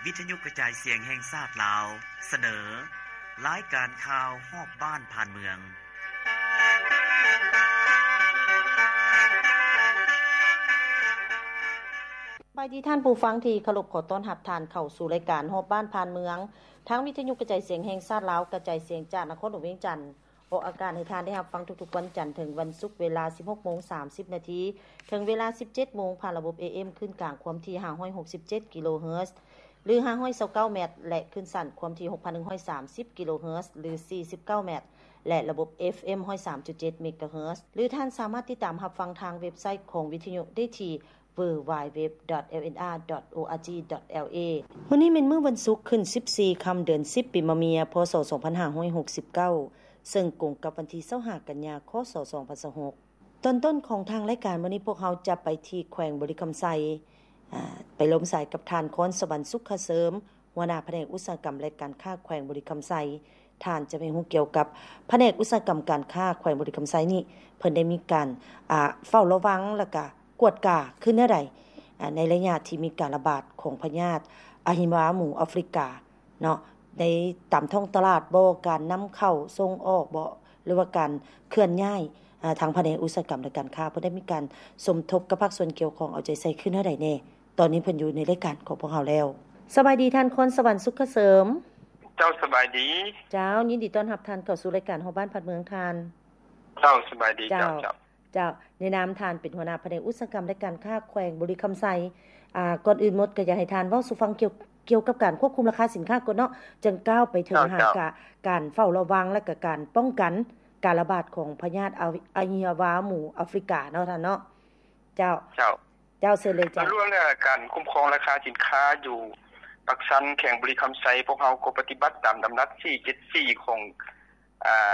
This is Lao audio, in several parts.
ວິທະຍຸກະຈາຍສຽງແຫ່ງຊາດລາວ ສະເໜີ ລາຍການຂ່າວຮອບບ້ານຜ່ານເມືອງ. ສະບາຍດີທ່ານຜູ້ຟັງທີ່ເຄົາລົບ, ຂໍຕ້ອນຮັບທ່ານເຂົ້າສູ່ລາຍການຮອບບ້ານຜ່ານເມືອງ ທາງວິທະຍຸກະຈາຍສຽງແຫ່ງຊາດລາວ ກະຈາຍສຽງຈາກນະຄອນຫຼວງວຽງຈັນ. ອອກອາກາດໃຫ້ທ່ານໄດ້ຮັບຟັງທຸກໆວັນຈັນເຖິງວັນສຸກ ເວລາສິບຫົກໂມງສາມສິບນາທີ ເຖິງເວລາສິບເຈັດໂມງ ຜ່ານລະບົບ ເອເອັມ ຄື້ນກາງຄວາມຖີ່ຫ້າຮ້ອຍຫົກສິບເຈັດກິໂລເຮີດ ຫຼື ຫ້າຮ້ອຍຊາວເກົ້າແມັດ ແລະ ຄື້ນສັ້ນຄວາມຖີ່ຫົກພັນໜຶ່ງຮ້ອຍສາມສິບກິໂລເຮີດ ຫຼື ສີ່ສິບເກົ້າແມັດ ແລະ ລະບົບ ເອຟເອັມ ຮ້ອຍສາມຈຸດເຈັດເມກາເຮີດ ຫຼື ທ່ານສາມາດຕິດຕາມຮັບຟັງທາງເວັບໄຊຂອງວິທະຍຸໄດ້ທີ່ ดับเบิลยู ดับเบิลยู ดับเบิลยู ดอท เอลเอ็นอาร์ ดอท โออาร์จี ดอท แอลเอ ມື້ນີ້ແມ່ນມື້ວັນສຸກ ຂຶ້ນສິບສີ່ຄ່ຳ ເດືອນສິບ ປີມະເມຍ ພ.ສ. ສອງພັນຫ້າຮ້ອຍຫົກສິບເກົ້າ ເຊິ່ງກົງກັບວັນທີຊາວຫ້າ ກັນຍາ ຄ.ສ. ສອງພັນຊາວຫົກ. ຕອນຕົ້ນຂອງທາງລາຍການມື້ນີ້ ພວກເຮົາຈະໄປທີ່ແຂວງບໍລິຄຳໄຊ ອາ ໄປລົມສາຍກັບທ່ານ ຄອນສະຫວັນ ສຸກຄະເສີມ ຫົວໜ້າພະແນກອຸດສາຫະກຳ ແລະ ການຄ້າແຂວງບໍລິຄຳໄຊ. ທ່ານຈະໄປຮູ້ກ່ຽວກັບພະແນກອຸດສາຫະກຳການຄ້າແຂວງບໍລິຄຳໄຊນີ້ ເພິ່ນໄດ້ມີການ ອາ ເຝົ້າລະວັງ ແລ້ວກະກວດກາຄືແນວໃດ ອາ ໃນໄລຍະທີ່ມີການລະບາດຂອງພະຍາດອະຫິວາໝູອາຟຣິກາເນາະ ໃນຕາມທ້ອງຕະຫຼາດບໍ ການນຳເຂົ້າສົ່ງອອກບໍ ຫຼືວ່າການເຄື່ອນຍ້າຍ ອາ ທາງພະແນກອຸດສາຫະກຳ ແລະ ການຄ້າ ເພິ່ນໄດ້ມີການສົມທົບກັບພາກສ່ວນກ່ຽວຂ້ອງເອົາໃຈໃສ່ຄືແນວໃດແດ່. ຕອນນີ້ເພິ່ນຢູ່ໃນລາຍການຂອງພວກເຮົາແລ້ວ. ສະບາຍດີທ່ານ ຄອນສະຫວັນ ສຸກຄະເສີມ. ເຈົ້າ ສະບາຍດີ. ເຈົ້າ ຍິນດີຕ້ອນຮັບທ່ານເຂົ້າສູ່ລາຍການຮອບບ້ານຜ່ານເມືອງທ່ານ. ເຈົ້າ ສະບາຍດີ. ເຈົ້າ ເຈົ້າ ເຈົ້າ ເຈົ້າ ໃນນາມທ່ານເປັນຫົວໜ້າພະແນກອຸດສາຫະກຳ ແລະ ການຄ້າແຂວງບໍລິຄຳໄຊ ອາ ກ່ອນອື່ນໝົດກໍຢາກໃຫ້ທ່ານເວົ້າສູ່ຟັງກ່ຽວ ກ່ຽວກັບການຄວບຄຸມລາຄາສິນຄ້າກ່ອນເນາະ ຈັ່ງກ້າວໄປເຖິງ ເຈົ້າ ຫາ ເຈົ້າ ກາ ການເຝົ້າລະວັງ ແລະ ກະການປ້ອງກັນການລະບາດຂອງພະຍາດອະ ອະຫິວາໝູອາຟຣິກາເນາະທ່ານເນາະ. ເຈົ້າ ເຈົ້າ ເຈົ້າ ເຊີນເລີຍເຈົ້າ. ເລື່ອງການຄຸ້ມຄອງລາຄາສິນຄ້າຢູ່ປາກຊັນ ແຂວງບໍລິຄຳໄຊ ພວກເຮົາກໍປະຕິບັດຕາມດຳລັດສີ່ເຈັດສີ່ຂອງ ອາ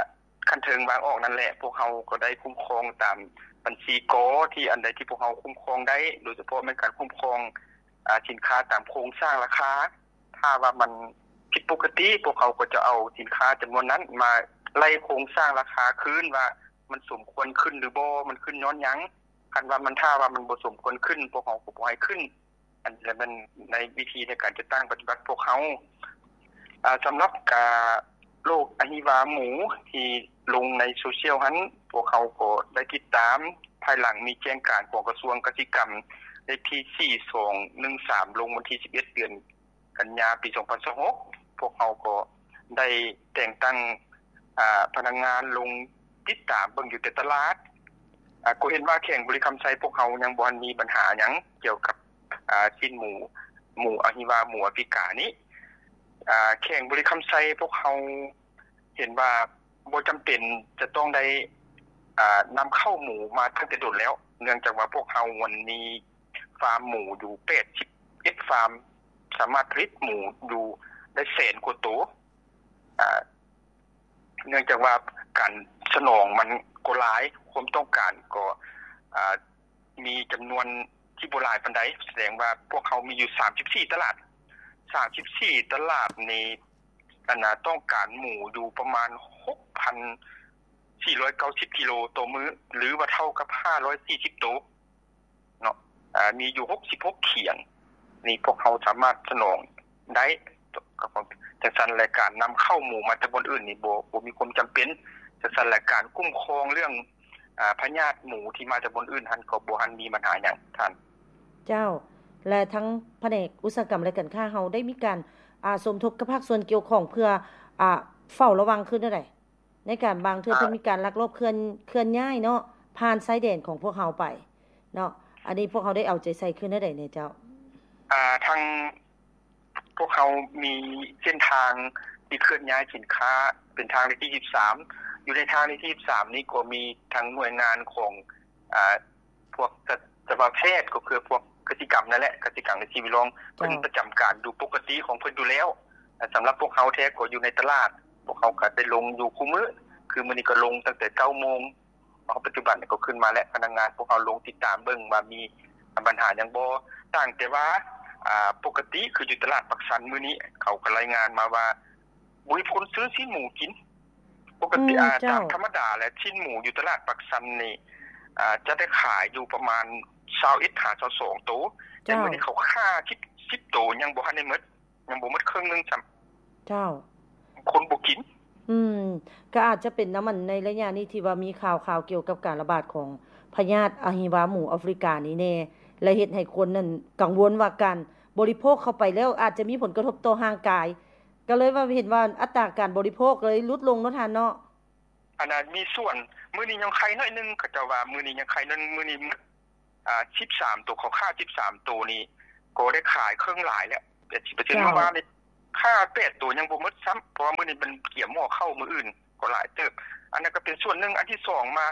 ຂັ້ນເທິງວາງອອກນັ້ນແຫຼະ. ພວກເຮົາກໍໄດ້ຄຸ້ມຄອງຕາມບັນຊີ ກ ທີ່ອັນໃດທີ່ພວກເຮົາຄຸ້ມຄອງໄດ້ ໂດຍສະເພາະແມ່ນການຄຸ້ມຄອງ ອາ ສິນຄ້າຕາມໂຄງສ້າງລາຄາ. ຖ້າວ່າມັນຜິດປົກກະຕິ ພວກເຮົາກໍຈະເອົາສິນຄ້າຈຳນວນນັ້ນມາໄລ່ໂຄງສ້າງລາຄາຄືນວ່າມັນສົມຄວນຂຶ້ນຫຼືບໍ່ ມັນຂຶ້ນຍ້ອນຫຍັງ. ຄັນວ່າມັນ ຖ້າວ່າມັນບໍ່ສົມຄວນຂຶ້ນ ພວກເຮົາກໍບໍ່ໃຫ້ຂຶ້ນ. ອັນນີ້ແຫຼະແມ່ນໃນວິທີໃນການຈັດຕັ້ງປະຕິບັດພວກເຮົາ. ອາ ສຳລັບ ອາ ໂລກອະຫິວາໝູທີ່ລົງໃນໂຊຊຽວຫັ້ນ ພວກເຮົາກໍໄດ້ຕິດຕາມ ພາຍຫຼັງມີແຈ້ງການຂອງກະຊວງກະສິກຳ ເລກທີສີ່ສອງໜຶ່ງສາມ ລົງວັນທີສິບເອັດ ເດືອນກັນຍາ ປີສອງພັນຊາວຫົກ ພວກເຮົາກໍໄດ້ແຕ່ງຕັ້ງ ອາ ພະນັກງານລົງຕິດຕາມເບິ່ງຢູ່ແຕ່ຕະຫຼາດ. ອາ ກໍເຫັນວ່າແຂວງບໍລິຄຳໄຊພວກເຮົາຍັງບໍ່ທັນມີບັນຫາຫຍັງກ່ຽວກັບ ອາ ຊີ້ນໝູ ໝູອະຫິວາໝູອາຟຣິການີ້. ອາ ແຂວງບໍລິຄຳໄຊພວກເຮົາເຫັນວ່າບໍ່ຈຳເປັນຈະຕ້ອງໄດ້ ອາ ນຳເຂົ້າໝູມາຕັ້ງແຕ່ດົນແລ້ວ ເນື່ອງຈາກວ່າພວກເຮົາມັນມີຟາມໝູຢູ່ແປດສິບເອັດຟາມ ສາມາດຜະລິດໝູຢູ່ໄດ້ແສນກວ່າໂຕ. ອາ ເນື່ອງຈາກວ່າການສະໜອງມັນກໍຫຼາຍ ຄວາມຕ້ອງການກໍ ອາ ມີຈຳນວນທີ່ບໍ່ຫຼາຍປານໃດ ສະແດງວ່າພວກເຮົາມີຢູ່ສາມສິບສີ່ຕະຫຼາດ. ສາມສິບສີ່ຕະຫຼາດນີ້ ອັນນ່າ ຕ້ອງການໝູຢູ່ປະມານຫົກພັນສີ່ຮ້ອຍເກົ້າສິບກິໂລຕໍ່ມື້ ຫຼືວ່າເທົ່າກັບຫ້າຮ້ອຍສີ່ສິບໂຕເນາະ. ອາ ມີຢູ່ຫົກສິບຫົກຂຽງນີ້ ພວກເຮົາສາມາດສະໜອງໄດ້. ຈັ່ງຊັ້ນແຫຼະ ການນຳເຂົ້າໝູມາແຕ່ບ່ອນອື່ນນີ້ ບໍ່ ບໍ່ມີຄວາມຈຳເປັນ. ຈັ່ງຊັ້ນແຫຼະ ການຄຸ້ມຄອງເລື່ອງ ອາ ພະຍາດໝູທີ່ມາຈາກບ່ອນອື່ນຫັ້ນ ກໍບໍ່ທັນມີບັນຫາຫຍັງທ່ານ. ເຈົ້າ ແລະ ທາງພະແນກອຸດສາຫະກຳ ແລະ ການຄ້າເຮົາໄດ້ມີການ ອາ ສົມທົບກັບພາກສ່ວນກ່ຽວຂ້ອງ ເພື່ອ ອາ ເຝົ້າລະວັງຄືແນວໃດ ໃນການບາງເທື່ອ ອາ ເພິ່ນມີການລັກລອບເຄື່ອນ ເຄື່ອນຍ້າຍເນາະ ຜ່ານຊາຍແດນຂອງພວກເຮົາໄປເນາະ ອັນນີ້ພວກເຮົາໄດ້ເອົາໃຈໃສ່ຄືແນວໃດແດ່ເຈົ້າ? ອາ ທາງ ພວກເຮົາມີເສັ້ນທາງທີ່ເຄື່ອນຍ້າຍສິນຄ້າ ເປັນທາງເລກທີສິບສາມ. ຢູ່ໃນທາງເລກທີສິບສາມນີ້ກໍມີທັງໜ່ວຍງານຂອງ ອາ ພວກສັດ ສັດວະແພດ ກໍຄືພວກກະສິກຳນັ້ນແຫຼະ ກະສິກຳ ແລະ ສິ່ງແວດລ້ອມ ເຈົ້າ ເພິ່ນປະຈຳການຢູ່ປົກກະຕິຂອງເພິ່ນຢູ່ແລ້ວ. ສຳລັບພວກເຮົາແທ້ກໍຢູ່ໃນຕະຫຼາດ ພວກເຮົາກໍໄດ້ລົງຢູ່ຄູ່ມື້ ຄືມື້ນີ້ກໍລົງຕັ້ງແຕ່ເກົ້າໂມງ ເພາະປັດຈຸບັນກໍຂຶ້ນມາແລ້ວ ພະນັກງານພວກເຮົາລົງຕິດຕາມເບິ່ງວ່າມີບັນຫາຫຍັງບໍ່. ຕ່າງແຕ່ວ່າ ອາ ປົກກະຕິຄືຢູ່ຕະຫຼາດປາກຊັນມື້ນີ້ ເຂົາກໍລາຍງານມາວ່າບໍ່ມີຄົນຊື້ຊີ້ນໝູກິນ. ປົກກະຕິ ອືມ ອາ ເຈົ້າ ຕາມທຳມະດາແລ້ວ ຊີ້ນໝູຢູ່ຕະຫຼາດປາກຊັນນີ້ ອາ ຈະໄດ້ຂາຍຢູ່ປະມານຊາວເອັດຫາຊາວສອງໂຕ ແຕ່ ເຈົ້າ ມື້ນີ້ເຂົາຂ້າສິບ ສິບໂຕຍັງບໍ່ທັນໄດ້ໝົດ. ຍັງບໍ່ໝົດເຄິ່ງໜຶ່ງຊ້ຳ. ເຈົ້າ. ຄົນບໍ່ກິນ. ອືມ ກໍອາດຈະເປັນນຳ ອັນ ໃນໄລຍະນີ້ທີ່ວ່າມີຂ່າວໆກ່ຽວກັບການລະບາດຂອງພະຍາດອະຫິວາໝູອາຟຣິການີ້ແດ່ ແລະ ເຮັດໃຫ້ຄົນນັ້ນກັງວົນວ່າການບໍລິໂພກເຂົ້າໄປແລ້ວອາດຈະມີຜົນກະທົບຕໍ່ຮ່າງກາຍ ກໍເລີຍວ່າເຫັນວ່າອັດຕາການບໍລິໂພກເລີຍຫຼຸດລົງເນາະທ່ານເນາະ. ອັນນັ້ນມີສ່ວນ ມື້ນີ້ຍັງໄຄໜ້ອຍໜຶ່ງ ເຂົາເຈົ້າວ່າມື້ນີ້ຍັງໄຄໜ້ອຍໜຶ່ງ ມື້ນີ້ໝົດ ອ່າ ສິບສາມໂຕ ເຂົາຂ້າສິບສາມໂຕນີ້ກໍໄດ້ຂາຍເຄິ່ງຫຼາຍແລ້ວ ແປດສິບເປີເຊັນ. ເຈົ້າ. ມື້ວານນີ້ຂ້າແປດໂຕຍັງບໍ່ໝົດຊ້ຳ ເພາະວ່າມື້ນີ້ມັນກຽມຫໍ່ເຂົ້າ ມື້ອື່ນກໍຫຼາຍເຕີບ. ອັນນັ້ນກໍເປັນສ່ວນໜຶ່ງ. ອັນທີສອງມາ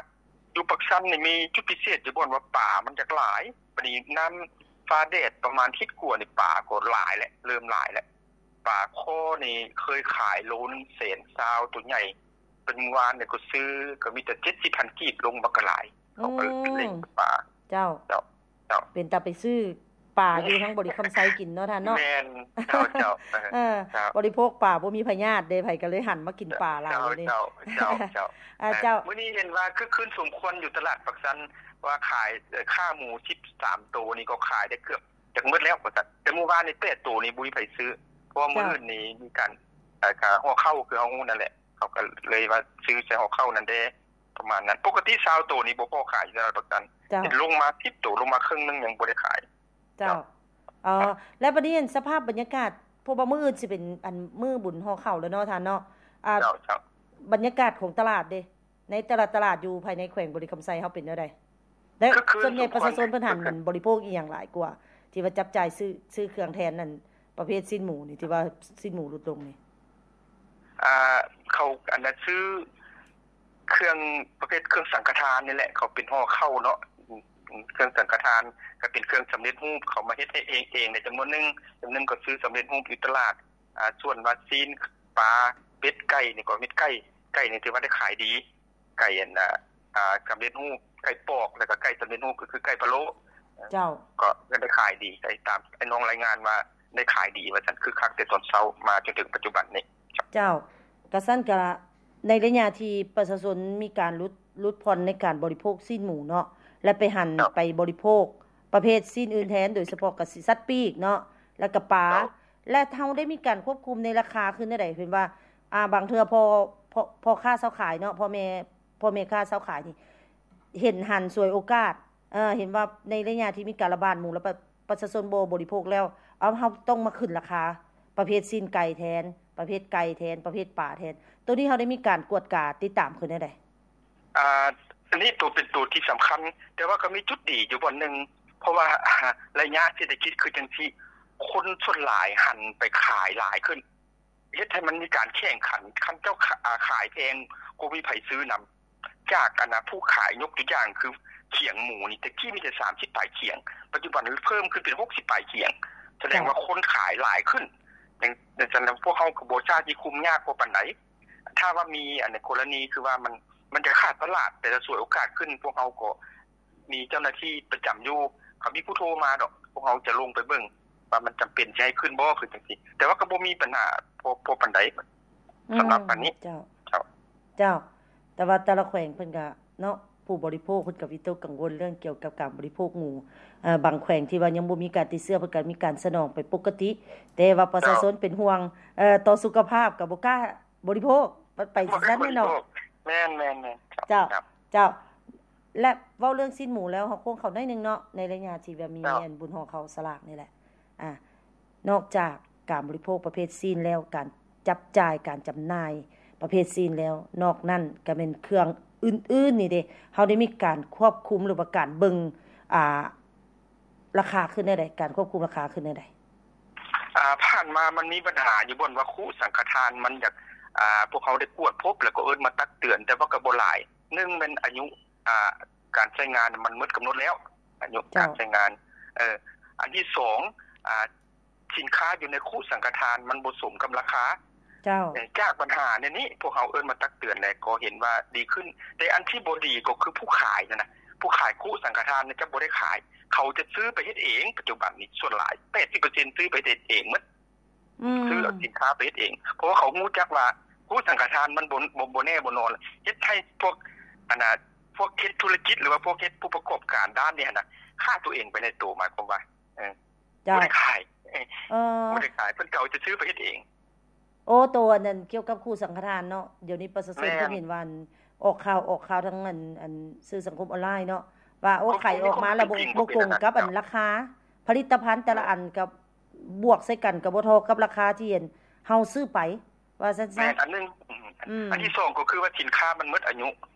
ຢູ່ປາກຊັນນີ້ມີຈຸດພິເສດຢູ່ບ່ອນວ່າປາມັນຢາກຫຼາຍ ບັດນີ້ນ້ຳຟ້າແດດປະມານທິດກວ່ານີ້ ປາກໍຫຼາຍແຫຼະ ເລີ່ມຫຼາຍແຫຼະ. ປາຄໍ່ນີ້ເຄີຍຂາຍໂລໜຶ່ງແສນຊາວ ໂຕໃຫຍ່ ປັດຈຸບັນນີ້ກໍຊື້ກໍມີແຕ່ເຈັດສິບພັນກີບ ລົງມາກໍຫຼາຍ ເຂົາກໍເລັ່ງປາ. ເຈົ້າ. ເຈົ້າ ເຈົ້າ. ເປັນຕາໄປຊື້ປາຢູ່ທາງບໍລິຄຳໄຊກິນເນາະທ່ານເນາະ. ແມ່ນ ເຈົ້າ ເຈົ້າ. ເອີ ເຈົ້າ. ບໍລິໂພກປາບໍ່ມີພະຍາດເດ້ ໃຜກໍເລີຍຫັນມາກິນປາຫຼາຍເດ້. ເຈົ້າ ເຈົ້າ ເຈົ້າ. ເອີ ເຈົ້າ. ມື້ນີ້ເຫັນວ່າຄຶກຄື້ນສົມຄວນຢູ່ຕະຫຼາດປາກຊັນ ວ່າຂາຍ ເອີ ຂ້າໝູສິບສາມໂຕນີ້ກໍຂາຍໄດ້ເກືອບ ຈະໝົດແລ້ວວ່າຊັ້ນ. ແຕ່ມື້ວານນີ້ແປດໂຕນີ້ບໍ່ມີໃຜຊື້ ເພາະວ່າ ເຈົ້າ ມື້ອື່ນນີ້ມີການ ເອີ ກາຫໍ່ເຂົ້າ ຄືເຮົາຮູ້ນັ້ນແຫຼະ ເຂົາກໍເລີຍວ່າຊື້ໃສ່ຫໍ່ເຂົ້ານັ້ນແດ່ ປະມານນັ້ນ. ປົກກະຕິຊາວໂຕນີ້ບໍ່ພໍຂາຍຢູ່ຕະຫຼາດປາກຊັນ. ເຈົ້າ. ເຫັນລົງມາສິບໂຕ ລົງມາເຄິ່ງໜຶ່ງຍັງບໍ່ໄດ້ຂາຍ. ເຈົ້າ. ເອີ ແລ້ວບັດນີ້ ອັນ ສະພາບບັນຍາກາດ ເພາະວ່າມື້ອື່ນຊິເປັນ ອັນ ມື້ບຸນຫໍ່ເຂົ້າແລ້ວເນາະທ່ານເນາະ. ອ່າ ເຈົ້າ ເຈົ້າ. ບັນຍາກາດຂອງຕະຫຼາດເດ ໃນແຕ່ລະຕະຫຼາດຢູ່ພາຍໃນແຂວງບໍລິຄຳໄຊເຮົາເປັນແນວໃດ? ແລະ ຄື ສ່ວນໃຫຍ່ປະຊາຊົນເພິ່ນຫັນ ຄື ມັນບໍລິໂພກອີ່ຫຍັງຫຼາຍກວ່າ ທີ່ວ່າຈັບຈ່າຍຊື້ ຊື້ເຄື່ອງແທນນັ້ນ ປະເພດຊີ້ນໝູນີ້ ທີ່ວ່າຊີ້ນໝູຫຼຸດລົງນີ້? ອ່າ ເຂົາ ອັນນັ້ນ ຊື້ເຄື່ອງປະເພດເຄື່ອງສັງຄະທານນີ້ແຫຼະ ເຂົາເປັນຫໍ່ເຂົ້າເນາະ. ເຄື່ອງສັງຄະທານກໍເປັນເຄື່ອງສຳເລັດຮູບ ເຂົາມາເຮັດໃຫ້ເອງ ເອງໃນຈຳນວນໜຶ່ງ ຈຳນວນໜຶ່ງກໍຊື້ສຳເລັດຮູບຢູ່ຕະຫຼາດ. ອ່າ ສ່ວນວ່າຊີ້ນ ປາ ເປັດ ໄກ່ນີ້ກໍເປັນໄກ່ ໄກ່ນີ້ຖືວ່າໄດ້ຂາຍດີ ໄກ່ອັນ ອ່າ ອ່າ ສຳເລັດຮູບ ໄກ່ປອກ ແລ້ວກໍໄກ່ສຳເລັດຮູບ ກໍຄືໄກ່ພະໂລ້. ເຈົ້າ. ກໍໄດ້ຂາຍດີ ໄດ້ຕາມໄອ້ນ້ອງລາຍງານວ່າໄດ້ຂາຍດີວ່າຊັ້ນ ຄຶກຄັກແຕ່ຕອນເຊົ້າມາຈົນເຖິງປັດຈຸບັນນີ້. ເຈົ້າ. ກະຊັ້ນກະ ໃນໄລຍະທີ່ປະຊາຊົນມີການຫຼຸດ ຫຼຸດຜ່ອນໃນການບໍລິໂພກຊີ້ນໝູເນາະ ແລະ ໄປຫັນ ເຈົ້າ ໄປບໍລິໂພກປະເພດຊີ້ນອື່ນແທນ ໂດຍສະເພາະກະສິສັດປີກເນາະ ແລ້ວກະປາ. ເຈົ້າ. ແລະ ເຮົາໄດ້ມີການຄວບຄຸມໃນລາຄາຄືແນວໃດ? ເຫັນວ່າ ອ່າ ບາງເທື່ອພໍ່ ພໍ່ ພໍ່ຄ້າຊາວຂາຍເນາະ ພໍ່ແມ່ ພໍ່ແມ່ຄ້າຊາວຂາຍນີ້ ເຫັນຫັນສວຍໂອກາດ ເອີ ເຫັນວ່າໃນໄລຍະທີ່ມີການລະບາດໝູ ແລ້ວປະ ປະຊາຊົນບໍ່ບໍລິໂພກແລ້ວ ເອົາ ເຮົາຕ້ອງມາຂຶ້ນລາຄາປະເພດຊີ້ນໄກ່ແທນ ປະເພດໄກ່ແທນ ປະເພດປາແທນ. ໂຕນີ້ເຮົາໄດ້ມີການກວດກາຕິດຕາມຄືແນວໃດ? ອ່າ ອັນນີ້ໂຕເປັນໂຕທີ່ສຳຄັນ ແຕ່ວ່າກໍມີຈຸດດີຢູ່ບ່ອນໜຶ່ງ ເພາະວ່າໄລຍະເສດຖະກິດຄືຈັ່ງຊີ້ ຄົນສ່ວນຫຼາຍຫັນໄປຂາຍຫຼາຍຂຶ້ນ ເຮັດໃຫ້ມັນມີການແຂ່ງຂັນ ຄັນເຈົ້າຂາ ອາ ຂາຍແພງກໍບໍ່ມີໃຜຊື້ນຳ ຈາກ ອັນນະ ຜູ້ຂາຍ ຍົກຕົວຢ່າງຄືຂຽງໝູນີ້ ແຕ່ກີ້ມີແຕ່ສາມສິບປາຍຂຽງ ປັດຈຸບັນເພີ່ມຂຶ້ນເປັນຫົກສິບປາຍຂຽງ ສະແດງວ່າ ເຈົ້າ ຄົນຂາຍຫຼາຍຂຶ້ນ. ຈັ່ງ ຈັ່ງຊັ້ນ ພວກເຮົາກໍບໍ່ຊາດຊິຄຸມຍາກພໍປານໃດ. ຖ້າວ່າມີ ອັນ ກໍລະນີຄືວ່າມັນ ມັນຈະຂາດຕະຫຼາດ ແຕ່ລະສວຍໂອກາດຂຶ້ນ ພວກເຮົາກໍ ມີເຈົ້າໜ້າທີ່ປະຈຳຢູ່ ເຂົາມີຜູ້ໂທມາດອກ ພວກເຮົາຈະລົງໄປເບິ່ງວ່າມັນຈຳເປັນຊິໃຫ້ຂຶ້ນບໍ່ ຄືຈັ່ງຊີ້ ແຕ່ວ່າກໍບໍ່ມີບັນຫາພໍ ພໍປານໃດ ອືມ ສຳລັບອັນນີ້. ເຈົ້າ ເຈົ້າ ເຈົ້າ ແຕ່ວ່າແຕ່ລະແຂວງເພິ່ນກະເນາະ ຜູ້ບໍລິໂພກເພິ່ນກະວິຕົກກັງວົນເລື່ອງກ່ຽວກັບການບໍລິໂພກໝູ ເອີ ບາງແຂວງທີ່ວ່າຍັງບໍ່ມີການຕິດເຊື້ອ ເພິ່ນກະມີການສະໜອງໄປປົກກະຕິ ແຕ່ວ່າປະຊາຊົນ ເຈົ້າ ເປັນຫ່ວງ ເອີ ຕໍ່ສຸຂະພາບ ກະບໍ່ກ້າບໍລິໂພກ ໄປ ໄປຈັ່ງຊັ້ນແຫຼະເນາະ. ແມ່ນໆໆ ເຈົ້າ ເຈົ້າ ເຈົ້າ ເຈົ້າ. ແລະ ເວົ້າເລື່ອງຊີ້ນໝູແລ້ວ ເຮົາໂຄ້ງເຂົ້າໜ້ອຍໜຶ່ງເນາະ ໃນໄລຍະທີ່ວ່າມີ ເຈົ້າ ອັນບຸນຫໍ່ເຂົ້າສະຫຼາກນີ້ແຫຼະ ອ່າ ນອກຈາກການບໍລິໂພກປະເພດຊີ້ນແລ້ວ ການຈັບຈ່າຍ ການຈຳໜ່າຍປະເພດຊີ້ນແລ້ວ ນອກນັ້ນກະແມ່ນເຄື່ອງອື່ນໆນີ້ເດ ເຮົາໄດ້ມີການຄວບຄຸມ ຫຼືວ່າການເບິ່ງ ອ່າ ລາຄາຂຶ້ນແນວໃດ? ການຄວບຄຸມລາຄາຂຶ້ນແນວໃດ? ອ່າ ຜ່ານມາມັນມີບັນຫາຢູ່ບ່ອນວ່າຄຸສັງຄະທານມັນຢາກ ອ່າ ພວກເຮົາໄດ້ກວດພົບ ແລ້ວກໍເອີ້ນມາຕັກເຕືອນ ແຕ່ວ່າກໍບໍ່ຫຼາຍ. ໜຶ່ງແມ່ນອາຍຸ ອ່າ ການໃຊ້ງານມັນໝົດກຳນົດແລ້ວ ອາຍຸ ເຈົ້າ ການໃຊ້ງານ. ເອີ ອັນທີສອງ ອ່າ ສິນຄ້າຢູ່ໃນຄຸສັງຄະທານມັນບໍ່ສົມກັບລາຄາ. ເຈົ້າ. ເອີ ຈາກບັນຫາແນວນີ້ ພວກເຮົາເອີ້ນມາຕັກເຕືອນ ແລ້ວກໍເຫັນວ່າດີຂຶ້ນ. ແຕ່ອັນທີ່ບໍ່ດີກໍຄືຜູ້ຂາຍນັ້ນນະ ຜູ້ຂາຍຄຸສັງຄະທານຈະບໍ່ໄດ້ຂາຍ ເຂົາຈະຊື້ໄປເຮັດເອງ. ປັດຈຸບັນນີ້ສ່ວນຫຼາຍ ແປດສິບເປີເຊັນ ຊື້ໄປເຮັດເອງໝົດ. ອືມ. ຊື້ເອົາສິນຄ້າໄປເຮັດເອງ ເພາະວ່າເຂົາຮູ້ຈັກວ່າຄຸສັງຄະທານມັນບໍ່ ບໍ່ ບໍ່ແນ່ບໍ່ນອນ ເຮັດໃຫ້ພວກ ອັນນ່າ ພວກເຮັດທຸລະກິດ ຫຼືວ່າພວກເຮັດຜູ້ປະກອບການດ້ານນີ້ຫັ້ນນະ ຂ້າຕົວເອງໄປໃນໂຕ. ໝາຍຄວາມວ່າ ເອີ ເຈົ້າ ບໍ່ໄດ້ຂາຍ ເອີ ບໍ່ໄດ້ຂາຍ ເພິ່ນກໍເອົາຊື່ໆໄປເຮັດເອງ. ໂອ້ ໂຕອັນນັ້ນກ່ຽວກັບຄູ່ສັງຄະທານເນາະ ດຽວນີ້ປະຊາຊົນ ແມ່ນ ເພິ່ນເຫັນວ່າອອກຂ່າວ ອອກຂ່າວທາງອັນ ອັນສື່ສັງຄົມອອນລາຍເນາະ ວ່າໂອ້ ຂາຍອອກມາແລ້ວບໍ່ ບໍ່ກົງກັບອັນລາຄາ ຜະລິດຕະພັນແຕ່ລະອັນກັບບວກໃສ່ກັນກໍບໍ່ທໍ່ກັບລາຄາທີ່ອັນເຮົາຊື້ໄປ ວ່າຊັ້ນຊະ. ແມ່ນອັນໜຶ່ງ ອືມ ອັນທີສອງກໍຄືວ່າສິນຄ້າມັນໝົດອາຍຸ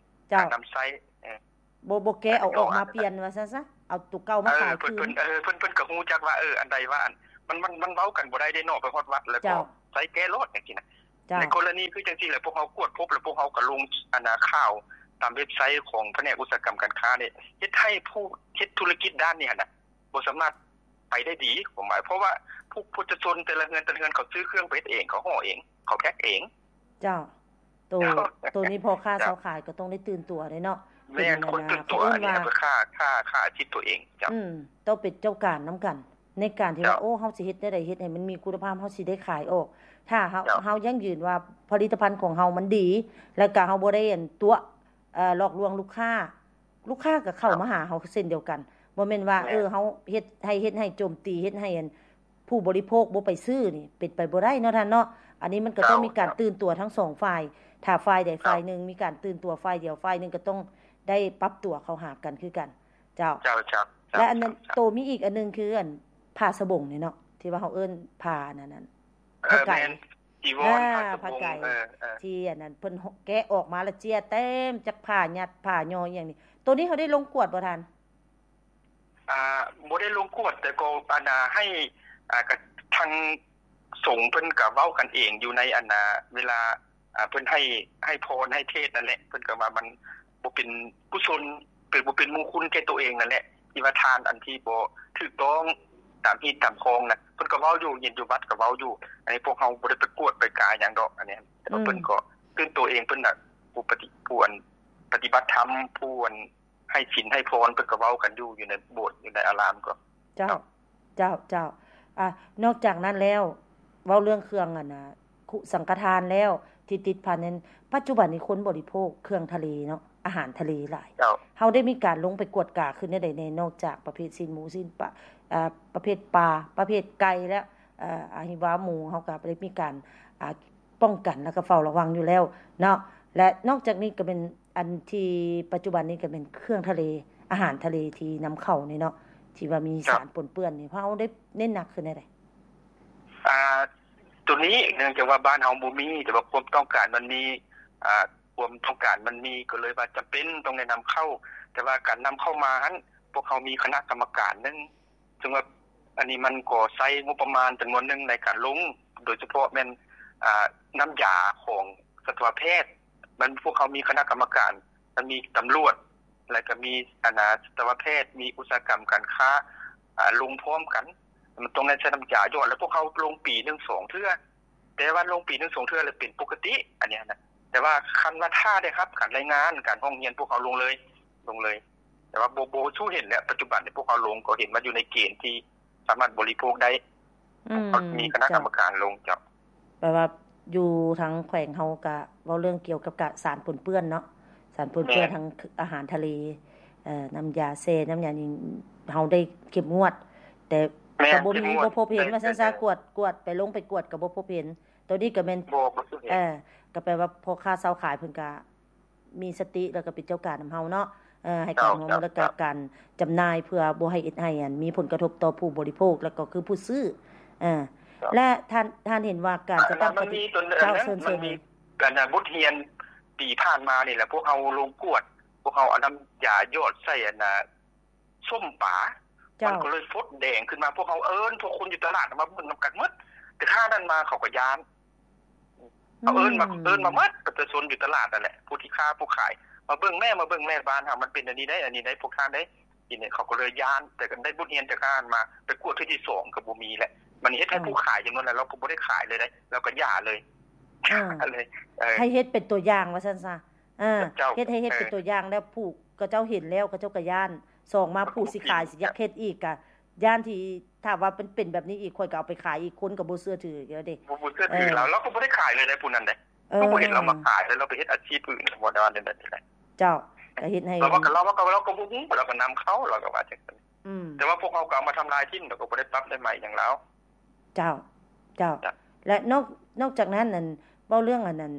ເຈົ້າ ການນຳໃຊ້ ເອີ ບໍ່ ບໍ່ແກະເອົາອອກມາປ່ຽນວ່າຊັ້ນຊະ ເອົາໂຕເກົ່າມາຂາຍຄືນ. ເອີ ເພິ່ນ ເພິ່ນ ເພິ່ນ ເພິ່ນກໍຮູ້ຈັກວ່າ ເອີ ອັນໃດວ່າອັນ ມັນ ມັນ ມັນເວົ້າກັນບໍ່ໄດ້ເດ້ເນາະ ໄປຮອດວັດແລ້ວກໍໃຊ້ແກ້ໂລດຈັ່ງຊີ້ນະ. ເຈົ້າ ໃນກໍລະນີຄືຈັ່ງຊີ້ແຫຼະ ພວກເຮົາກວດພົບ ແລ້ວພວກເຮົາກໍລົງອັນນາຂ່າວຕາມເວັບໄຊຂອງພະແນກອຸດສາຫະກຳການຄ້ານີ້ ເຮັດໃຫ້ຜູ້ເຮັດທຸລະກິດດ້ານນີ້ຫັ້ນນະ ບໍ່ສາມາດໄປໄດ້ດີ ຄວາມໝາຍ ເພາະວ່າຜູ້ ປະຊາຊົນແຕ່ລະເຮືອນ ແຕ່ລະເຮືອນ ເຂົາຊື້ເຄື່ອງໄປເຮັດເອງ ເຂົາຫໍ່ເອງ ເຂົາແພັກເອງ. ເຈົ້າ ໂຕ ໂຕນີ້ພໍ່ຄ້າຊາວຂາຍກໍຕ້ອງໄດ້ຕື່ນຕົວເດ້ເນາະ. ແມ່ນ ຄວນຕື່ນຕົວ ເຂົາເອີ້ນວ່າ ອັນນີ້ເຂົາກໍຂ້າ ຂ້າ ຂ້າອາຊີບຕົວເອງ. ເຈົ້າ ອືມ ຕ້ອງເປັນເຈົ້າການນຳກັນ ໃນການທີ່ວ່າ ໂອ້ ເຮົາຊິເຮັດແນວໃດເຮັດໃຫ້ມັນມີຄຸນນະພາບ ເຮົາຊິໄດ້ຂາຍອອກ. ຖ້າເຮົາ ເຮົາຢັ້ງຢືນວ່າຜະລິດຕະພັນຂອງເຮົາມັນດີ ແລ້ວກໍເຮົາບໍ່ໄດ້ອັນຕົວະ ເອີ ຫຼອກລວງລູກຄ້າ ລູກຄ້າກໍເຂົ້າມາຫາເຮົາເຊັ່ນດຽວກັນ. ບໍ່ແມ່ນວ່າ ເອີ ເຮົາເຮັດໃຫ້ ເຮັດໃຫ້ໂຈມຕີ ເຮັດໃຫ້ອັນຜູ້ບໍລິໂພກບໍ່ໄປຊື້ນີ້ ເປັນໄປບໍ່ໄດ້ເນາະທ່ານເນາະ. ອັນນີ້ມັນກໍຕ້ອງມີການຕື່ນຕົວທັງສອງຝ່າຍ. ຖ້າຝ່າຍໃດຝ່າຍໜຶ່ງມີການຕື່ນຕົວ ຝ່າຍດຽວ ຝ່າຍໜຶ່ງກໍຕ້ອງໄດ້ປັບຕົວເຂົ້າຫາກັນຄືກັນ. ເຈົ້າ ເຈົ້າ ເຈົ້າ ເຈົ້າ. ແລະອັນນັ້ນ ເຈົ້າ ໂຕມີອີກອັນໜຶ່ງຄືອັນຜ້າສະບົງນີ້ເນາະ ທີ່ວ່າເຮົາເອີ້ນຜ້າອັນນັ້ນ ເອີ ຜ້າໄກ ແມ່ນ ຈີວອນ ອ່າ ຜ້າສະບົງ ຜ້າໄກ ເອີ ເອີ ທີ່ອັນນັ້ນເພິ່ນແກະອອກມາແລ້ວເຈ້ຍເຕັມຈັກຜ້າ ຍັດຜ້າຍໍ້ອີ່ຫຍັງນີ້. ໂຕນີ້ເຮົາໄດ້ລົງກວດບໍ່ທ່ານ? ອ່າ ບໍ່ໄດ້ລົງກວດ ແຕ່ກໍອັນນ່າໃຫ້ ອ່າ ກະ ທາງສົງເພິ່ນກະເວົ້າກັນເອງຢູ່ໃນອັນນ່າ ເວລາ ອ່າ ເພິ່ນໃຫ້ ໃຫ້ພອນໃຫ້ເທດນັ້ນແຫຼະ ເພິ່ນກໍວ່າມັນບໍ່ເປັນກຸສົນ ເປັນ ບໍ່ເປັນມຸງຄຸນແກ່ຕົວເອງນັ້ນແຫຼະ ທີ່ວ່າທານອັນທີ່ບໍ່ຖືກຕ້ອງຕາມຮີດຕາມຄອງນະ ເພິ່ນກໍເວົ້າຢູ່ ເຫັນຢູ່ວັດກໍເວົ້າຢູ່. ອັນນີ້ພວກເຮົາບໍ່ໄດ້ໄປກວດໄປກາຫຍັງດອກ ອັນນີ້ ແຕ່ວ່າ ອືມ ເພິ່ນກໍຕື່ນຕົວເອງ ເພິ່ນນະ ຜູ້ປະຕິ ຜູ້ອັນປະຕິບັດທຳ ຜູ້ອັນ ໃຫ້ສິນໃຫ້ພອນ ເພິ່ນກໍເວົ້າກັນຢູ່ ຢູ່ໃນໂບດ ຢູ່ໃນອາລາມກໍ. ເຈົ້າ ເຈົ້າ ເຈົ້າ ເຈົ້າ. ອ່າ ນອກຈາກນັ້ນແລ້ວ ເວົ້າເລື່ອງເຄື່ອງອັນນ່າ ຄຸ ສັງຄະທານແລ້ວ ທີ່ຕິດພັນນັ້ນ ປັດຈຸບັນນີ້ຄົນບໍລິໂພກເຄື່ອງທະເລເນາະ ອາຫານທະເລຫຼາຍ. ເຈົ້າ ເຮົາໄດ້ມີການລົງໄປກວດກາຄືແນວໃດແດ່ ນອກຈາກປະເພດຊີ້ນໝູ ຊີ້ນປາ ອ່າ ປະເພດປາ ປະເພດໄກ່ ແລະ ເອີ ອາ ຫິວາໝູ ເຮົາກໍໄດ້ມີການ ອ່າ ປ້ອງກັນ ແລ້ວກໍເຝົ້າລະວັງຢູ່ແລ້ວເນາະ. ແລະນອກຈາກນີ້ກໍແມ່ນ ອັນທີ່ປັດຈຸບັນນີ້ກໍແມ່ນເຄື່ອງທະເລ ອາຫານທະເລທີ່ນຳເຂົ້ານີ້ເນາະ ທີ່ວ່າມີ ເຈົ້າ ສານປົນເປື້ອນນີ້ ເຮົາໄດ້ເນັ້ນໜັກຄືແນວໃດ? ອ່າ ໂຕນີ້ເນື່ອງຈາກວ່າບ້ານເຮົາບໍ່ມີ ແຕ່ວ່າຄວາມຕ້ອງການມັນມີ ອ່າ ຄວາມຕ້ອງການມັນມີ ກໍເລີຍວ່າຈຳເປັນຕ້ອງໄດ້ນຳເຂົ້າ. ແຕ່ວ່າການນຳເຂົ້າມາຫັ້ນ ພວກເຮົາມີຄະນະກຳມະການໜຶ່ງ ເຊິ່ງວ່າອັນນີ້ມັນກໍໃຊ້ງົບປະມານຈຳນວນໜຶ່ງໃນການລົງ ໂດຍສະເພາະແມ່ນ ອ່າ ນ້ຳຢາຂອງສັດຕະວະແພດ. ມັນ ພວກເຮົາມີຄະນະກຳມະການ ມັນມີຕຳຫຼວດ ແລ້ວກໍມີອັນນ່າ ສັດຕະວະແພດ ມີອຸດສາຫະກຳການຄ້າ ອ່າ ລົງພ້ອມກັນ. ມັນຕ້ອງໄດ້ໃຊ້ນ້ຳຢາຢອດ ແລ້ວພວກເຮົາລົງປີໜຶ່ງສອງເທື່ອ ແຕ່ວ່າລົງປີໜຶ່ງສອງເທື່ອແລ້ວເປັນປົກກະຕິ ອັນນີ້ນະ. ແຕ່ວ່າຄັນວ່າຖ້າໄດ້ຮັບການລາຍງານ ການຮ້ອງຮຽນ ພວກເຮົາລົງເລີຍ ລົງເລີຍ. ແຕ່ວ່າບໍ່ ບໍ່ສູ້ເຫັນແລ້ວ ປັດຈຸບັນນີ້ພວກເຮົາລົງກໍເຫັນວ່າຢູ່ໃນເກນທີ່ສາມາດບໍລິໂພກໄດ້. ອືມ ມີຄະນະກຳມະການລົງ. ເຈົ້າ ແປວ່າຢູ່ທາງແຂວງເຮົາກະເວົ້າເລື່ອງກ່ຽວກັບກະສານປົນເປື້ອນເນາະ ສານປົນເປື້ອນ ແມ່ນ ທາງອາຫານທະເລ ເອີ ນ້ຳຢາແຊ່ ນ້ຳຢາຫຍັງ ເຮົາໄດ້ເຂັ້ມງວດ ແຕ່ ແມ່ນ ກໍບໍ່ມີ ເຂັ້ມງວດ ບໍ່ພົບເຫັນ ແຕ່ ວ່າຊັ້ນຊະ ແຕ່ ກວດ ກວດໄປ ລົງໄປກວດກໍບໍ່ພົບເຫັນ. ໂຕນີ້ກໍແມ່ນ ບໍ່ ບໍ່ເຫັນ ເອີ ກໍແປວ່າພໍ່ຄ້າຊາວຂາຍເພິ່ນກະ ມີສະຕິ ແລ້ວກໍເປັນເຈົ້າການນຳເຮົາເນາະ ເອີ ໃຫ້ການຮ່ວມມື ເຈົ້າ ແລ້ວກໍ ເຈົ້າ ການຈຳໜ່າຍ ເພື່ອບໍ່ໃຫ້ເຮັດໃຫ້ ອັນ ມີຜົນກະທົບຕໍ່ຜູ້ບໍລິໂພກ ແລ້ວກໍຄືຜູ້ຊື້. ເອີ ເຈົ້າ ແລະທ່ານ ທ່ານເຫັນວ່າການຈັດຕັ້ງ ອັນນັ້ນມັນມີຕົວ ເຈົ້າ ອັນນັ້ນ ເຊີນ ມັນມີ ເຊີນ ອັນນັ້ນບົດຮຽນປີຜ່ານມານີ້ແຫຼະ ພວກເຮົາລົງກວດ ພວກເຮົາເອົານ້ຳຢາຢອດໃສ່ອັນນ່າ ສົ້ມປາ ເຈົ້າ ມັນກໍເລີຍຟົດແດງຂຶ້ນມາ. ພວກເຮົາເອີ້ນພວກຄົນຢູ່ຕະຫຼາດມາເບິ່ງນຳກັນໝົດ ແຕ່ຂ້ານັ້ນມາເຂົາກໍຢ້ານ ເຂົາເອີ້ນມາ ອືມ ເອີ້ນມາໝົດ ປະຊາຊົນຢູ່ຕະຫຼາດນັ້ນແຫຼະ ຜູ້ທີ່ຄ້າຜູ້ຂາຍ ມາເບິ່ງແມ້ ມາເບິ່ງແມ້ ບ້ານເຮົາມັນເປັນອັນນີ້ໄດ໋ ອັນນີ້ໄດ໋ ພວກທ່ານເດ໋ ທີນີ້ເຂົາກໍເລີຍຢ້ານ. ແຕ່ກໍໄດ້ບົດຮຽນຈາກຂ້ານັ້ນມາ ໄປກວດເທື່ອທີສອງກໍບໍ່ມີແຫຼະ. ມັນເຮັດໃຫ້ ເອີ ຜູ້ຂາຍຈຳນວນຫຼາຍ ລາວກໍບໍ່ໄດ້ຂາຍເລີຍເດ໋ ລາວກໍຢ່າເລີຍ ເອີ ເລີຍ ເອີ ໃຫ້ເຮັດເປັນຕົວຢ່າງວ່າຊັ້ນຊະ. ເອີ ເຈົ້າ ເຮັດໃຫ້ເຮັດເປັນ ເອີ ຕົວຢ່າງ ແລ້ວຜູ້ເຂົາເຈົ້າເຫັນແລ້ວ ເຂົາເຈົ້າກໍຢ້ານ. ສອງມາ ຜູ້ຊິຂາຍ ເຈົ້າ ຊິຢາກເຮັດອີກ ກະຢ້ານທີ່ຖ້າວ່າເປັນ ເປັນແບບນີ້ອີກ ຂ້ອຍກໍເອົາໄປຂາຍອີກ ຄົນກໍບໍ່ເຊື່ອຖືແລ້ວເດ໋. ບໍ່ ບໍ່ເຊື່ອຖື ເອີ ລາວ ລາວກໍບໍ່ໄດ້ຂາຍເລີຍໃດ໋ ຜູ້ນັ້ນເດ໋. ເອີ ກໍບໍ່ເຫັນລາວມາຂາຍເລີຍ ລາວໄປເຮັດອາຊີບອື່ນ ບໍ່ໄດ້ວ່າແນວໃດ. ເຈົ້າ ກໍເຮັດໃຫ້ ລາວວ່າ ລາວວ່າ ລາວກໍບໍ່ຮູ້ ລາວກໍນຳເຂົ້າ ລາວກໍວ່າຈັ່ງຊັ້ນ. ອືມ ແຕ່ວ່າພວກເຮົາກໍເອົາມາທຳລາຍຖິ້ມ ແລ້ວກໍບໍ່ໄດ້ປັບໄດ້ໃໝຫຍັງລາວ. ເຈົ້າ ເຈົ້າ ເຈົ້າ ແລະ ນອກ ນອກຈາກນັ້ນ ອັນ ເວົ້າເລື່ອງ ອັນນັ້ນ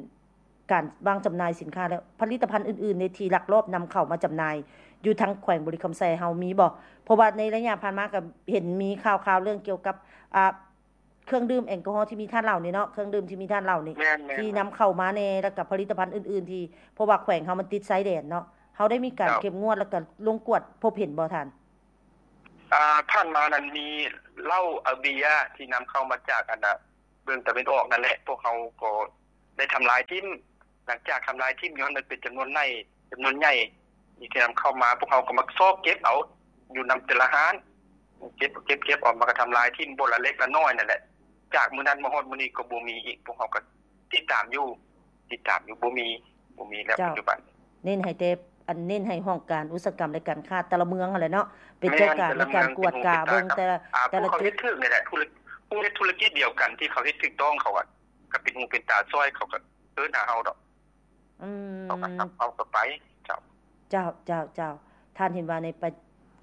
ການວາງຈຳໜ່າຍສິນຄ້າ ແລະ ຜະລິດຕະພັນອື່ນໆ ໃນທີ່ລັກລອບນຳເຂົ້າມາຈຳໜ່າຍຢູ່ທາງແຂວງບໍລິຄຳໄຊເຮົາມີບໍ່? ເພາະວ່າໃນໄລຍະຜ່ານມາກໍເຫັນມີຂ່າວໆ ເລື່ອງກ່ຽວກັບ ອ່າ ເຄື່ອງດື່ມແອລກໍຮໍທີ່ມີທາດເຫຼົ້ານີ້ເນາະ ເຄື່ອງດື່ມທີ່ມີທາດເຫຼົ້ານີ້ ແມ່ນໆໆ ທີ່ນຳເຂົ້າມາແດ່ ແລ້ວກໍຜະລິດຕະພັນອື່ນໆ ທີ່ ເພາະວ່າແຂວງເຮົາມັນຕິດຊາຍແດນເນາະ ເຮົາໄດ້ມີການ ເຈົ້າ ເຂັ້ມງວດ ແລ້ວກໍລົງກວດພົບເຫັນບໍ່ທ່ານ? ອ່າ ຜ່ານມານັ້ນມີເຫຼົ້າ ເອົາເບຍທີ່ນຳເຂົ້າມາຈາກ ອັນນະ ເບື້ອງຕາເວັນອອກນັ້ນແຫຼະ ພວກເຮົາກໍໄດ້ທຳລາຍຖິ້ມ. ຫຼັງຈາກທຳລາຍຖິ້ມຢູ່ຫັ້ນ ມັນເປັນຈຳນວນໃຫຍ່ ຈຳນວນໃຫຍ່ທີ່ນຳເຂົ້າມາ ພວກເຮົາກໍມາຊອກເກັບເອົາຢູ່ນຳແຕ່ລະຮ້ານ ເກັບ ເກັບ ເກັບເອົາ ມາກໍທຳລາຍຖິ້ມບໍ່ລະເລັກລະນ້ອຍນັ້ນແຫຼະ. ຈາກມື້ນັ້ນມາຮອດມື້ນີ້ກໍບໍ່ມີອີກ ພວກເຮົາກໍຕິດຕາມຢູ່ ຕິດຕາມຢູ່ ບໍ່ມີ ບໍ່ມີແລ້ວ ເຈົ້າ ປັດຈຸບັນ. ເນັ້ນໃຫ້ແຕ່ ອັນ ເນັ້ນໃຫ້ຫ້ອງການອຸດສາຫະກຳ ແລະ ການຄ້າແຕ່ລະເມືອງຫັ້ນແຫຼະເນາະ ເປັນເຈົ້າການ ແມ່ນ ໃນການກວດກາເບິ່ງແຕ່ລະ ອ່າ ແຕ່ລະຈຸດ ຜູ້ເຮັດທຸລະກິດດຽວກັນທີ່ເຂົາເຮັດຖືກຕ້ອງ ເຂົາກໍເປັນຫູເປັນຕາຊ່ອຍ ເຂົາກໍເອີ້ນຫາເຮົາດອກ. ອືມ ເຂົາກໍ ເຂົາກໍໄປ ເຈົ້າ ເຈົ້າ ເຈົ້າ ເຈົ້າ. ທ່ານເຫັນວ່າໃນ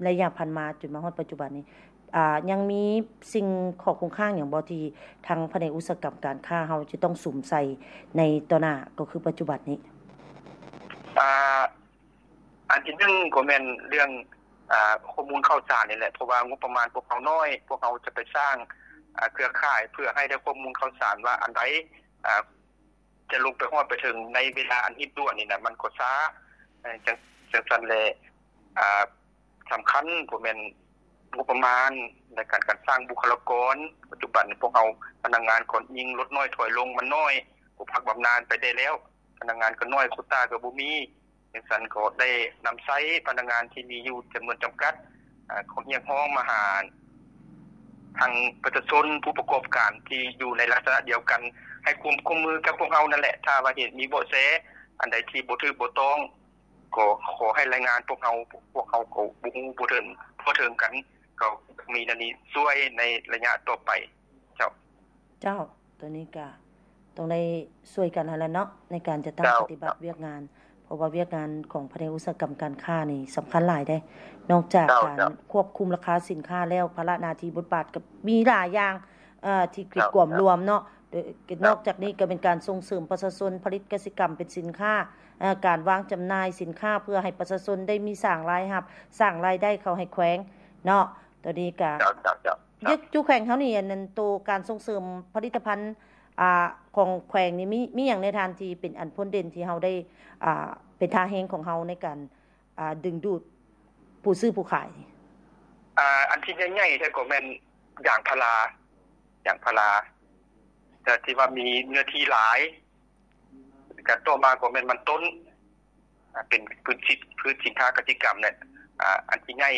ໄລຍະຜ່ານມາຈົນມາຮອດປັດຈຸບັນນີ້ ອ່າ ຍັງມີສິ່ງຂໍ້ຄົງຄ້າງຫຍັງບໍ່ທີ່ທາງພະແນກອຸດສາຫະກຳການຄ້າເຮົາຈະຕ້ອງສຸມໃສ່ໃນຕໍ່ໜ້າ ກໍຄືປັດຈຸບັນນີ້? ອ່າ ອັນທີໜຶ່ງກໍແມ່ນເລື່ອງ ອ່າ ຂໍ້ມູນຂ່າວສານນີ້ແຫຼະ ເພາະວ່າງົບປະມານພວກເຮົານ້ອຍ ພວກເຮົາຈະໄປສ້າງ ອ່າ ເຄືອຂ່າຍເພື່ອໃຫ້ໄດ້ຂໍ້ມູນຂ່າວສານວ່າອັນໃດ ອ່າ ຈະລົງໄປຮອດໄປເຖິງໃນເວລາອັນຮີບດ່ວນນີ້ນະ ມັນກໍຊ້າ ເອີ ຈັ່ງ ຈັ່ງຊັ້ນແຫຼະ ອ່າ ສຳຄັນກໍແມ່ນງົບປະມານໃນການ ການສ້າງບຸກຄະລາກອນ. ປັດຈຸບັນພວກເຮົາພະນັກງານກໍຍິ່ງລົດນ້ອຍຖອຍລົງ ມັນນ້ອຍ ກໍພັກບຳນານໄປໄດ້ແລ້ວ ພະນັກງານກໍນ້ອຍ ໂຄຕ້າກໍບໍ່ມີ. ຈັ່ງຊັ້ນກໍໄດ້ນຳໃຊ້ພະນັກງານທີ່ມີຢູ່ຈຳນວນຈຳກັດ ອ່າ ຂໍຮຽກຮ້ອງມາຫາທາງປະຊາຊົນ ຜູ້ປະກອບການທີ່ຢູ່ໃນລັກສະນະດຽວກັນ ໃຫ້ຄວາມຮ່ວມມືກັບພວກເຮົານັ້ນແຫຼະ. ຖ້າວ່າເຫັນມີເບາະແສອັນໃດທີ່ບໍ່ຖືກບໍ່ຕ້ອງ ກໍຂໍໃຫ້ລາຍງານພວກເຮົາ ພວກເຮົາກໍບໍ່ຮູ້ບໍ່ເຖິງທົ່ວເຖິງກັນ ກໍມີແນວນີ້ຊ່ວຍໃນໄລຍະຕໍ່ໄປ. ເຈົ້າ ເຈົ້າ ໂຕນີ້ກະຕ້ອງໄດ້ຊ່ວຍກັນຫັ້ນແຫຼະເນາະ ໃນການຈັດຕັ້ງ ເຈົ້າ ປະຕິບັດວຽກງານ ເພາະວ່າວຽກງານຂອງພະແນກອຸດສາຫະກຳການຄ້ານີ້ສຳຄັນຫຼາຍເດ້ ນອກຈາກ ເຈົ້າ ການ ເຈົ້າ ຄວບຄຸມລາຄາສິນຄ້າແລ້ວ ພາລະໜ້າທີ່ບົດບາດກໍມີຫຼາຍຢ່າງ ເອີ ທີ່ ເຈົ້າ ກວມລວມເນາະ ເອີ ເຈົ້າ ນອກຈາກນີ້ກໍເປັນການສົ່ງເສີມປະຊາຊົນຜະລິດກະສິກຳເປັນສິນຄ້າ ເອີ ການວາງຈຳໜ່າຍສິນຄ້າເພື່ອໃຫ້ປະຊາຊົນໄດ້ມີສ້າງລາຍຮັບ ສ້າງລາຍໄດ້ເຂົ້າໃຫ້ແຂວງເນາະ ໂຕນີ້ກະ ເຈົ້າ ເຈົ້າ ເຈົ້າ ເຈົ້າ ຢູ່ ຢູ່ແຂວງເຮົານີ້ ອັນນັ້ນ ໂຕການສົ່ງເສີມຜະລິດຕະພັນ ອ່າ ຂອງແຂວງນີ້ ມີ ມີຫຍັງແດ່ທ່ານ ທີ່ເປັນອັນພົ້ນເດັ່ນ ທີ່ເຮົາໄດ້ ອ່າ ເປັນທ່າແຮງຂອງເຮົາໃນການ ອ່າ ດຶງດູດຜູ້ຊື້ຜູ້ຂາຍ? ອ່າ ອັນທີ່ໃຫຍ່ໆແທ້ກໍແມ່ນຢາງພາລາ ຢາງພາລາ ແຕ່ທີ່ວ່າມີເນື້ອທີ່ຫຼາຍ ກະຕໍ່ມາກໍແມ່ນມັນຕົ້ນ ອ່າ ເປັນພືດສິນ ພືດສິນຄ້າກະສິກຳແຫຼະ ອ່າ ອັນທີ່ໃຫຍ່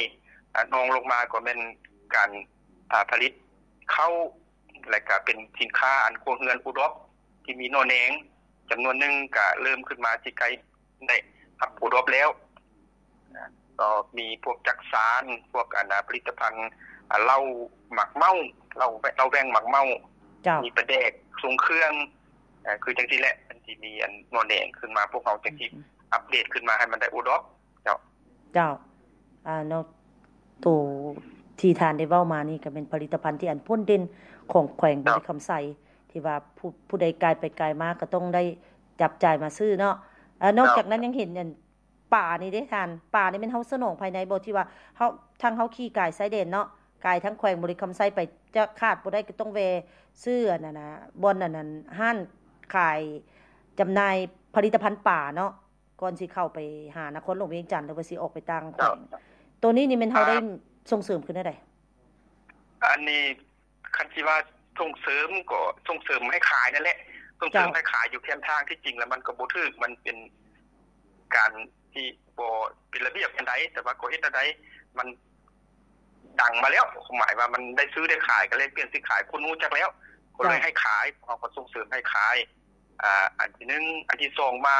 ອ່າ ຮອງລົງມາກໍແມ່ນການ ອ່າ ຜະລິດເຂົ້າ ແລະກະເປັນສິນຄ້າອັນຄົວເຮືອນໂອດອບ ທີ່ມີໜໍ່ແໜງຈຳນວນໜຶ່ງ ກະເລີ່ມຂຶ້ນມາຊິໃກ້ໄດ້ຮັບໂອດອບແລ້ວ ກໍມີພວກຈັກສານ ພວກອັນ ອ່າ ຜະລິດຕະພັນ ອ່າ ເຫຼົ້າໝາກເມົ້າ ເຫຼົ້າ ເຫຼົ້າແວ່ງໝາກເມົ້າ ເຈົ້າ ມີປາແດກ ຊົງເຄື່ອງ ອ່າ ຄືຈັ່ງຊີ້ແຫຼະ ອັນທີ່ມີອັນໜໍ່ແໜງຂຶ້ນມາ ພວກເຮົາຈັ່ງຊິ ອືມ ອັບເດດຂຶ້ນມາໃຫ້ມັນໄດ້ໂອດອບ ເຈົ້າ ເຈົ້າ ອ່າ ເນາະ ໂຕທີ່ທ່ານໄດ້ເວົ້າມານີ້ກໍເປັນຜະລິດຕະພັນທີ່ອັນພົ້ນເດັ່ນຂອງແຂວງບໍລິຄຳໄຊ ທີ່ວ່າຜູ້ ຜູ້ໃດກາຍໄປກາຍມາກໍຕ້ອງໄດ້ຈັບຈ່າຍມາຊື້ເນາະ ເອີ ນອກຈາກນັ້ນຍັງເຫັນອັນ ປານີ້ເດ້ທ່ານ ປານີ້ແມ່ນເຮົາສະໜອງພາຍໃນບໍ່ ທີ່ວ່າເຮົາ ທາງເຮົາຂີ່ກາຍຊາຍແດນເນາະ ກາຍທາງແຂວງບໍລິຄຳໄຊໄປ ຈະຂາດບໍ່ໄດ້ກໍຕ້ອງແວ່ຊື້ອັນນັ້ນນະ ບ່ອນອັນນັ້ນ ຮ້ານຂາຍຈຳໜ່າຍຜະລິດຕະພັນປາເນາະ ກ່ອນຊິເຂົ້າໄປຫານະຄອນຫຼວງວຽງຈັນ ຫຼືວ່າຊິອອກໄປຕ່າງແຂວງ ເຈົ້າ ໂຕນີ້ນີ້ແມ່ນເຮົາ ອ່າ ໄດ້ສົ່ງເສີມຄືແນວໃດ? ອັນນີ້ ຄັນຊິວ່າສົ່ງເສີມກໍສົ່ງເສີມໃຫ້ຂາຍນັ້ນແຫຼະ ສົ່ງເສີມ ເຈົ້າ ໃຫ້ຂາຍຢູ່ແຄມທາງ ທີ່ຈິງແລ້ວມັນກໍບໍ່ຖືກ ມັນເປັນການທີ່ບໍ່ເປັນລະບຽບປານໃດ ແຕ່ວ່າກໍເຮັດແນວໃດມັນດັງມາແລ້ວ ຄວາມໝາຍວ່າມັນໄດ້ຊື້ໄດ້ຂາຍ ກໍແລກປ່ຽນຊື້ຂາຍ ຄົນຮູ້ຈັກແລ້ວ ກໍເລີຍ ເຈົ້າ ໃຫ້ຂາຍ ເຮົາກໍສົ່ງເສີມໃຫ້ຂາຍ ອ່າ ອັນທີໜຶ່ງ ອັນທີສອງມາ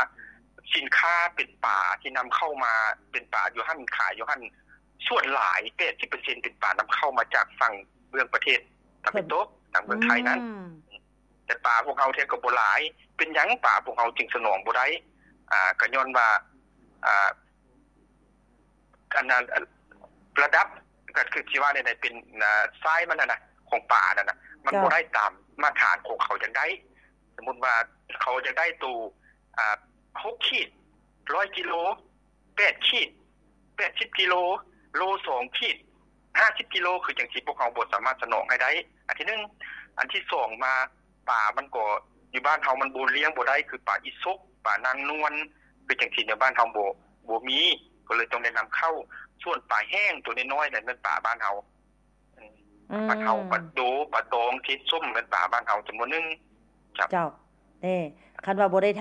ສິນຄ້າເປັນປາທີ່ນຳເຂົ້າມາ ເປັນປາຢູ່ຫັ້ນ ຂາຍຢູ່ຫັ້ນ ສ່ວນຫຼາຍ ແປດສິບເປີເຊັນ ເປັນປານຳເຂົ້າມາຈາກຝັ່ງເບື້ອງປະເທດຕາເວັນຕົກ ທາງເມືອງໄທນັ້ນ ອືມ ແຕ່ປາພວກເຮົາແທ້ກໍບໍ່ຫຼາຍ ເປັນຫຍັງປາພວກເຮົາຈຶ່ງສະໜອງບໍ່ໄດ້? ອ່າ ກໍຍ້ອນວ່າ ອ່າ ອັນນັ້ນ ລະດັບ ກໍຄືຊິວ່າແນວໃດ ເປັນ ອ່າ ໄຊມັນຫັ້ນນະ ຂອງປານັ້ນນະ ມັນ ເຈົ້າ ບໍ່ໄດ້ຕາມມາດຕະຖານຂອງເຂົາຢາກໄດ້. ສົມມຸດວ່າເຂົາຢາກໄດ້ໂຕ ອ່າ ຫົກຂີດ ຮ້ອຍກິໂລ, ແປດຂີດ ແປດສິບກິໂລ, ໂລສອງຂີດ ຫ້າສິບກິໂລ ຄືຈັ່ງຊີ້ ພວກເຮົາບໍ່ສາມາດສະໜອງໃຫ້ໄດ້ ອັນທີໜຶ່ງ. ອັນທີສອງມາ ປາມັນກໍຢູ່ບ້ານເຮົາມັນບໍ່ລ້ຽງບໍ່ໄດ້ ຄືປາອີສົກ ປານາງນວນ ຄືຈັ່ງຊີ້ ໃນບ້ານເຮົາບໍ່ ບໍ່ມີ ກໍເລີຍຕ້ອງໄດ້ນຳເຂົ້າ. ສ່ວນປາແຫ້ງໂຕນ້ອຍໆ ນັ້ນແມ່ນປາບ້ານເຮົາ ອືມ ປາເທົາ ປາໂດ ປາຕອງ ເທັດ ສົ້ມ ແມ່ນປາບ້ານເຮົາຈຳນວນໜຶ່ງ. ເຈົ້າ ເຈົ້າ ເດ້ ຄັນວ່າບໍ່ໄດ້